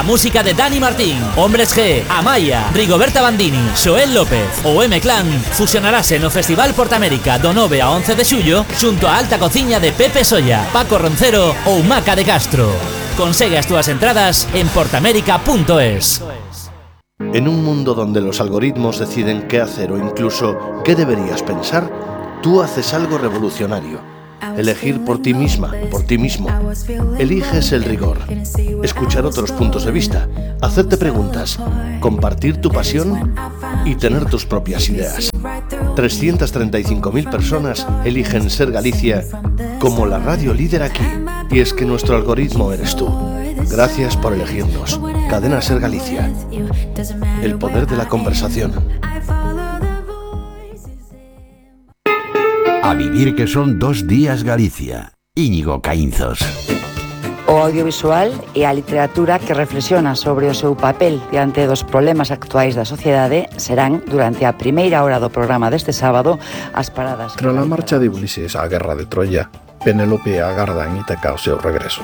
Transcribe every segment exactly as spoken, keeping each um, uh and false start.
a música de Dani Martín, Hombres G, Amaya, Rigoberta Bandini, Xoel López ou M-Clan fusionarase no Festival Portamérica do nove a once de xullo xunto a alta cociña de Pepe Solla, Paco Roncero ou Maca de Castro. Consegue as túas entradas en portamérica punto es. En un mundo donde los algoritmos deciden qué hacer o incluso qué deberías pensar, tú haces algo revolucionario. Elegir por ti misma, por ti mismo. Eliges el rigor. Escuchar otros puntos de vista. Hacerte preguntas. Compartir tu pasión y tener tus propias ideas. trescientas treinta y cinco mil personas eligen Ser Galicia como la radio líder aquí. Y es que nuestro algoritmo eres tú. Gracias por elegirnos. Cadena Ser Galicia. El poder de la conversación. A vivir que son dos días Galicia. Íñigo Caínzos. O audiovisual e a literatura que reflexiona sobre o seu papel diante dos problemas actuais da sociedade serán, durante a primeira hora do programa deste sábado, as paradas. Tras a marcha de Ulises á guerra de Troia, Penélope agarda en Ítaca o seu regreso.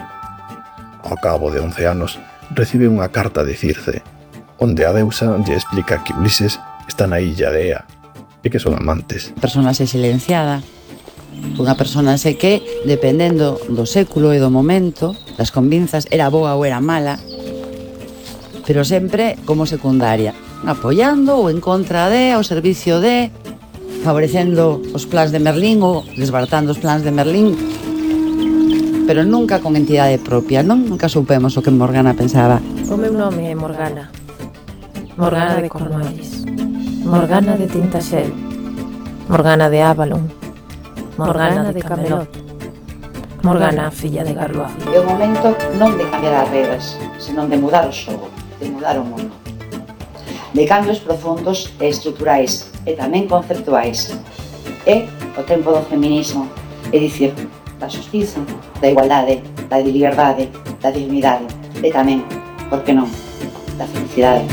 Ao cabo de once anos, recibe unha carta de Circe, onde a deusa lle explica que Ulises está na illa de Ea e que son amantes. Personaxe silenciada, unha personaxe que, dependendo do século e do momento, das convinzas, era boa ou era mala, pero sempre como secundaria, apoiando ou en contra de, ao servicio de, favorecendo os plans de Merlín ou desbaratando os plans de Merlín, pero nunca con entidade propia, non? Nunca soupemos o que Morgana pensaba. O meu nome é Morgana. Morgana de Cornualles. Morgana de Tintaxel. Morgana de Avalon. Morgana de Camelot. Morgana, filla de Garloa. É o momento non de cambiar as regras, senón de mudar o xogo, de mudar o mundo. De cambios profundos e estruturais, e tamén conceptuais. É o tempo do feminismo, é dicir, da xustiza, da igualdade, da liberdade, da dignidade, e tamén, por que non, da felicidade.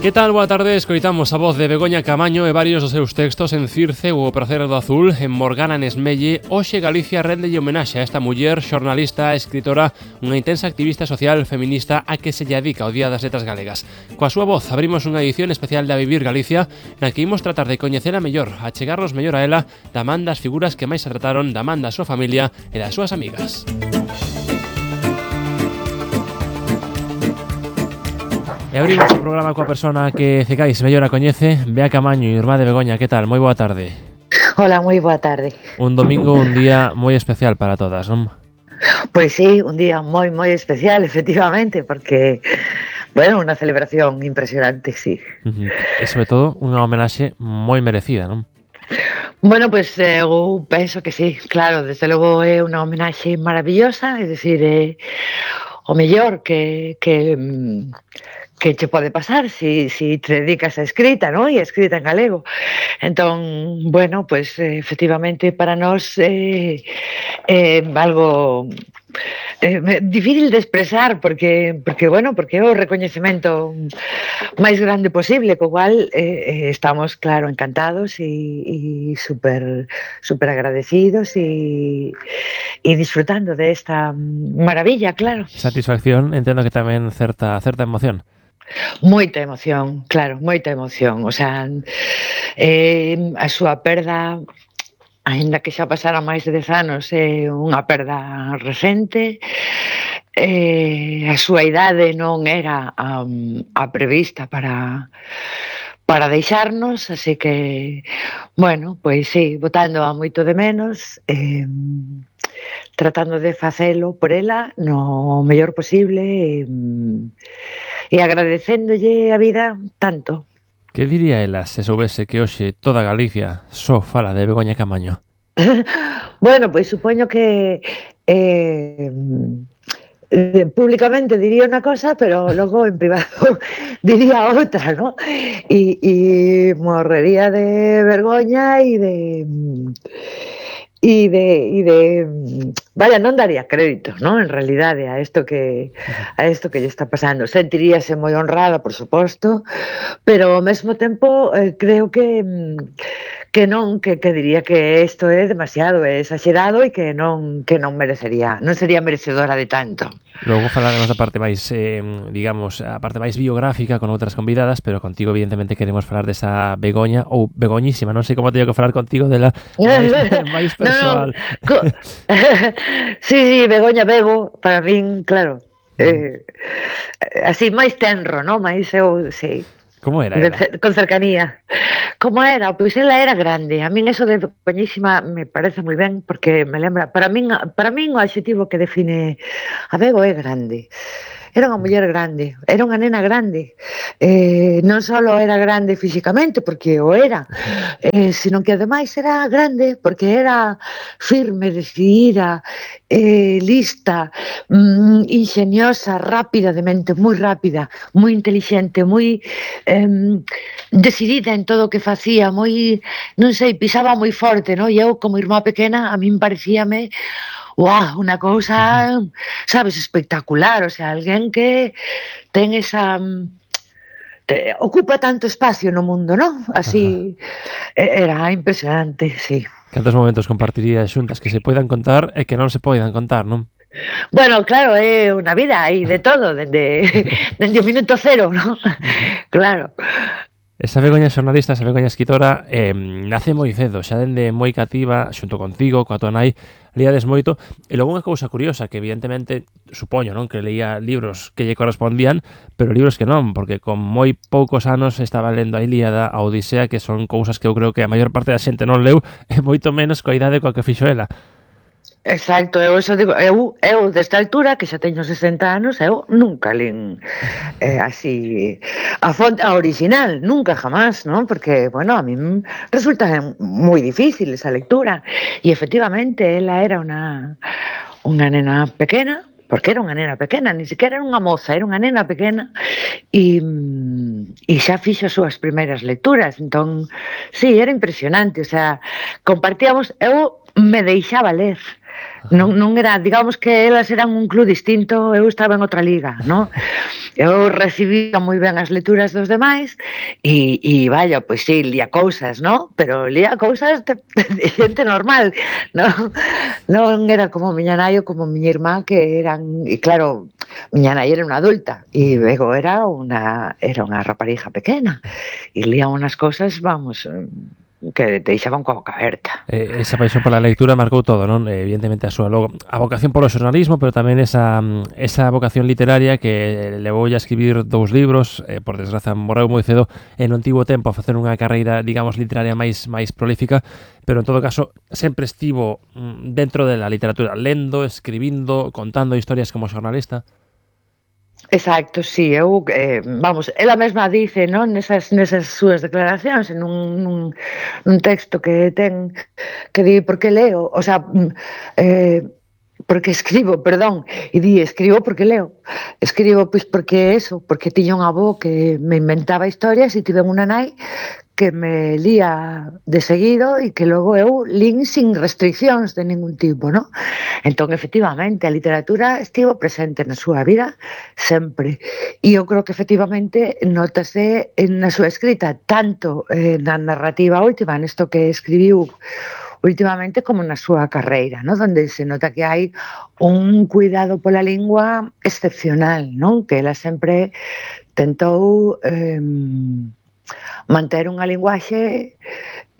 Que tal? Boa tarde, escoitamos a voz de Begoña Camaño e varios dos seus textos en Circe ou O Prazer do Azul, en Morgana Nesmelle. Hoxe Galicia rendelle homenaxe a esta muller, xornalista, escritora, unha intensa activista social feminista a que se lle dedica o Día das Letras Galegas. Coa súa voz abrimos unha edición especial de A Vivir Galicia, na que imos tratar de coñecela mellor, a chegarnos mellor a ela, da man das figuras que máis se trataron, da man da súa familia e das súas amigas. E abrimos o programa coa persona que Cecais mellor a coñece, Bea Camaño, irmá de Begoña. Que tal? Moi boa tarde. Hola, moi boa tarde. Un domingo, un día moi especial para todas, non? Pois sí, un día moi, moi especial, efectivamente, porque, bueno, unha celebración impresionante, sí. Uh-huh. E, sobre todo, unha homenaxe moi merecida, non? Bueno, pois pues, eu penso que sí, claro, desde logo é unha homenaxe maravillosa, é dicir, é o mellor que... que que che pode pasar si, si te dedicas a escrita, ¿no? E a escrita en galego. Entón, bueno, pues efectivamente para nós é eh, eh, algo eh, difícil de expresar porque, porque bueno, porque é o recoñecemento máis grande posible, co cual eh, estamos, claro, encantados e, e super, super agradecidos e, e disfrutando de esta maravilla, claro. Satisfacción, entendo que tamén certa, certa emoción. Moita emoción, claro, moita emoción. O sea, eh, a súa perda, aínda que xa pasara máis de dez anos, é unha perda recente. Eh, a súa idade non era um, a prevista para para deixarnos, así que, bueno, pois sí, botando a moito de menos, eh, tratando de facelo por ela no mellor posible e, e agradecéndolle a vida tanto. Que diría ela se soubese que hoxe toda Galicia só fala de Begoña Camaño? Bueno, pois supoño que eh, eh, públicamente diría unha cosa, pero logo en privado diría outra, ¿no? E, e morrería de vergoña e de... e de, e de vaya, non daría crédito, non? En realidade a isto que a isto que lle está pasando. Sentiríase moi honrada, por suposto, pero ao mesmo tempo eh, creo que que non, que, que diría que isto é demasiado, é exagerado e que non que non merecería, non sería merecedora de tanto. Logo falaremos da parte máis, eh, digamos, a parte máis biográfica con outras convidadas, pero contigo evidentemente queremos falar desa Begoña, ou Begoñísima, non sei como teño que falar contigo dela máis, máis persoal. No, no. Sí, sí, Begoña Bego, para min, claro, eh, así máis tenro, non? Máis eu, sí. Como era ela? Con cercanía. Como era? Pois ela era grande. A min eso de Begoñísima me parece moi ben, porque me lembra, para min, para min o adxetivo que define a Bego é grande. Era unha muller grande, era unha nena grande, eh, non só era grande físicamente, porque o era, eh, sino que ademais era grande porque era firme, decidida, eh, lista, mm, ingeniosa, rápida de mente, moi rápida, moi inteligente, moi eh, decidida en todo o que facía, moi, non sei, pisaba moi forte, no? E eu como irmá pequena a min parecíame ¡guau! Unha cousa, sabes, espectacular, o sea, alguén que ten esa... Te, ocupa tanto espacio no mundo, non? Así, ajá, era impresionante, sí. Cantos momentos compartirías xuntas que se poidan contar e que non se poidan contar, non? Bueno, claro, é unha vida aí de todo, dende, dende o minuto cero, non? Claro. Esa Begoña xornalista, esa Begoña escritora, eh, nace moi cedo, xa dende moi cativa, xunto contigo, coa tua nai, líades moito, e logo unha cousa curiosa, que evidentemente, supoño, non, que leía libros que lle correspondían, pero libros que non, porque con moi poucos anos estaba lendo a Ilíada, a Odisea, que son cousas que eu creo que a maior parte da xente non leu, e moito menos coa idade coa que fixo ela. Exacto, eu eso digo, eu, eu desta altura, que xa teño sesenta anos, eu nunca lin eh, así a fonte, a original, nunca jamás, non? Porque, bueno, a mí resulta moi difícil esa lectura, e efectivamente ela era unha unha nena pequena, porque era unha nena pequena, ni siquiera era unha moza, era unha nena pequena, e, e xa fixo as súas primeiras lecturas, entón, sí, era impresionante, o sea, compartíamos, eu me deixaba ler, non, non era, digamos que elas eran un club distinto, eu estaba en outra liga, non? Eu recibía moi ben as lecturas dos demais e, e vaya, pois sí, lía cousas, non? Pero lía cousas de, de xente normal, non? Non era como miña nai ou como miña irmá, que eran, e claro, miña nai era unha adulta e Bego era unha era unha raparija pequena e lía unhas cousas, vamos, que te deixaban coa boca aberta. Eh, esa paixón pola lectura marcou todo, non? Eh, evidentemente a súa logo, a vocación polo xornalismo, pero tamén esa esa vocación literaria que levoulle a escribir dous libros, eh, por desgraza morreu moi cedo e non tivo tempo a facer unha carreira, digamos, literaria máis máis prolífica, pero en todo caso sempre estivo dentro de la literatura, lendo, escribindo, contando historias como xornalista. Exacto, sí, eu, eh, vamos, ela mesma dice, non, nesas, nesas súas declaracións, en un, nun, nun texto que ten, que di, por que leo, o sea, eh, porque escribo, perdón, e di, escribo porque leo, escribo, pois, porque eso, porque tiña un avó que me inventaba historias e tive unha nai que me lía de seguido e que logo eu lín sin restriccións de ningún tipo, non? Entón, efectivamente, a literatura estivo presente na súa vida sempre. E eu creo que, efectivamente, notase na súa escrita, tanto eh, na narrativa última, nesto que escribiu últimamente, como na súa carreira, non? Donde se nota que hai un cuidado pola lingua excepcional, non? Que ela sempre tentou... Eh, manter unha linguaxe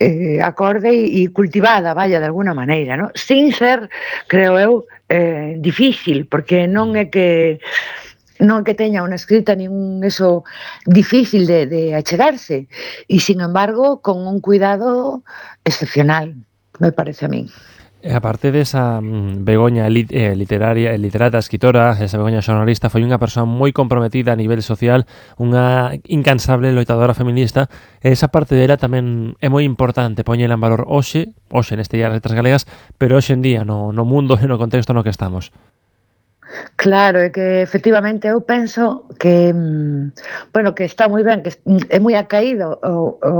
eh, acorde e cultivada, vaya, de alguna maneira, ¿no? Sin ser, creo eu, eh, difícil, porque non é que non é que teña unha escrita nin eso difícil de, de achegarse, e sin embargo con un cuidado excepcional, me parece a mí. A parte desa mm, Begoña lit, eh, literaria, literata, escritora, esa Begoña xornalista, foi unha persoa moi comprometida a nivel social, unha incansable loitadora feminista, e esa parte dela tamén é moi importante poñela en valor hoxe, hoxe neste día das letras galegas, pero hoxe en día no, no mundo e no contexto no que estamos. Claro, é que efectivamente eu penso que, bueno, que está moi ben, que é moi acaído o, o,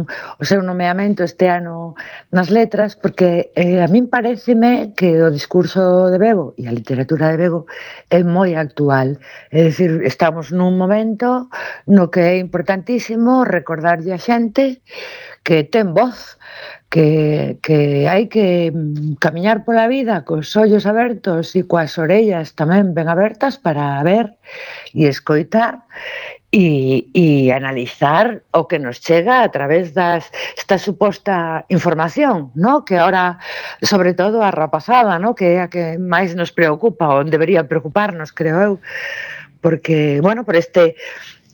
o seu nomeamento este ano nas letras, porque eh, a min pareceme que o discurso de Bego e a literatura de Bego é moi actual. É dicir, estamos nun momento no que é importantísimo recordarlle a xente que ten voz, que, que hai que camiñar pola vida cos ollos abertos e coas orellas tamén ben abertas para ver e escoitar e, e analizar o que nos chega a través das esta suposta información, ¿no? Que ahora, sobre todo a rapazada, ¿no? Que é a que máis nos preocupa, ou debería preocuparnos, creo eu, porque, bueno, por este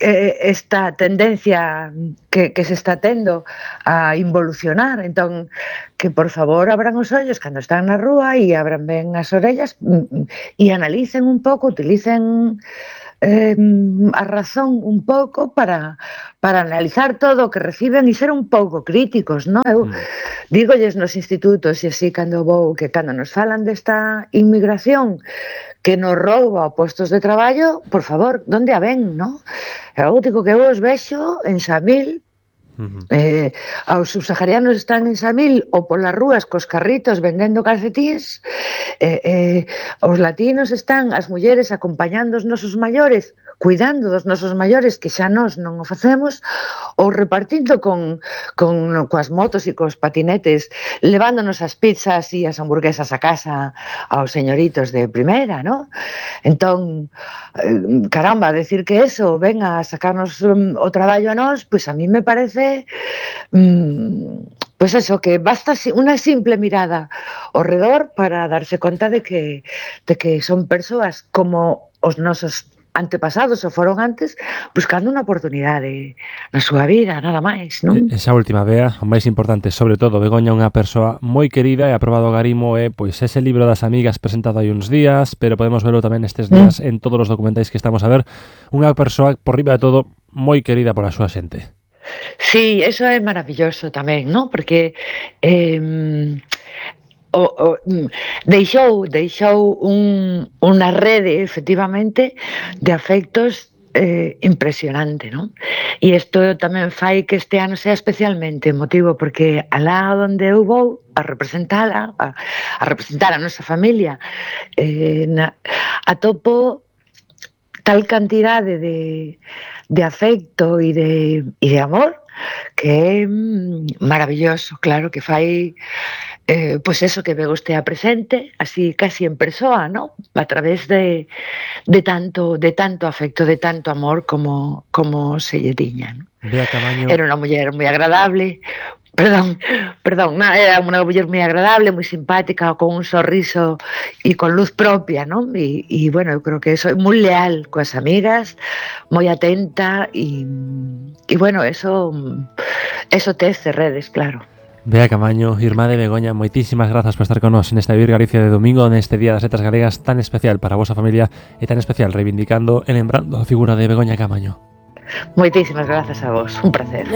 esta tendencia que, que se está tendo a involucionar, entón que por favor abran os ollos cando están na rúa e abran ben as orellas e analicen un pouco, utilicen eh, a razón un pouco para, para analizar todo o que reciben e ser un pouco críticos, non? Eu mm. dígolles nos institutos e así cando vou, que cando nos falan desta inmigración que nos rouba postos de traballo, por favor, onde a ven, non? Eu digo que eu os vexo en Samil, uh-huh. eh, os subsaharianos están en Samil ou polas rúas cos carritos vendendo calcetíns, eh, eh, os latinos están, as mulleres acompañando os nosos maiores, cuidando dos nosos maiores, que xa nós non o facemos, ou repartindo con, con, coas motos e cos patinetes, levándonos as pizzas e as hamburguesas a casa aos señoritos de primeira, non? Entón, caramba, decir que eso venga a sacarnos um, o traballo a nós, pois a mí me parece um, pois eso, que basta unha simple mirada ao redor para darse conta de que, de que son persoas como os nosos antepasados ou foron antes, buscando unha oportunidade na súa vida, nada máis, non? Esa última, Bea, o máis importante, sobre todo, Begoña, unha persoa moi querida e aprobado o Garimo, é pois ese libro das amigas presentado hai uns días, pero podemos verlo tamén estes días mm. en todos os documentais que estamos a ver, unha persoa, por riba de todo, moi querida pola súa xente. Sí, eso é maravilloso tamén, non? Porque eh, O, o, deixou, deixou un, unha rede, efectivamente, de afectos eh, impresionante, non? E isto tamén fai que este ano sea especialmente emotivo, porque alá onde eu vou a representala, a, a representar a nosa familia, eh, na, atopo tal cantidade de, de afecto e de, e de amor que é maravilloso, claro, que fai eh, pois eso, que Bego estea presente así casi en persoa, ¿no? A través de, de tanto de tanto afecto, de tanto amor como, como se lle tiña, ¿no? Bea Camaño. Era unha muller moi agradable, perdón, perdón, no, era unha muller moi agradable, moi simpática, con un sorriso e con luz propia, ¿no? E, e bueno, eu creo que eso é moi leal coas amigas, moi atenta e, e bueno, eso eso tece redes, claro. Bea Camaño, irmá de Begoña, moitísimas grazas por estar con nós nesta Vivir Galicia de domingo, neste Día das Letras Galegas tan especial para a vosa familia e tan especial reivindicando e lembrando a figura de Begoña Camaño. Moitísimas grazas a vos, un placer.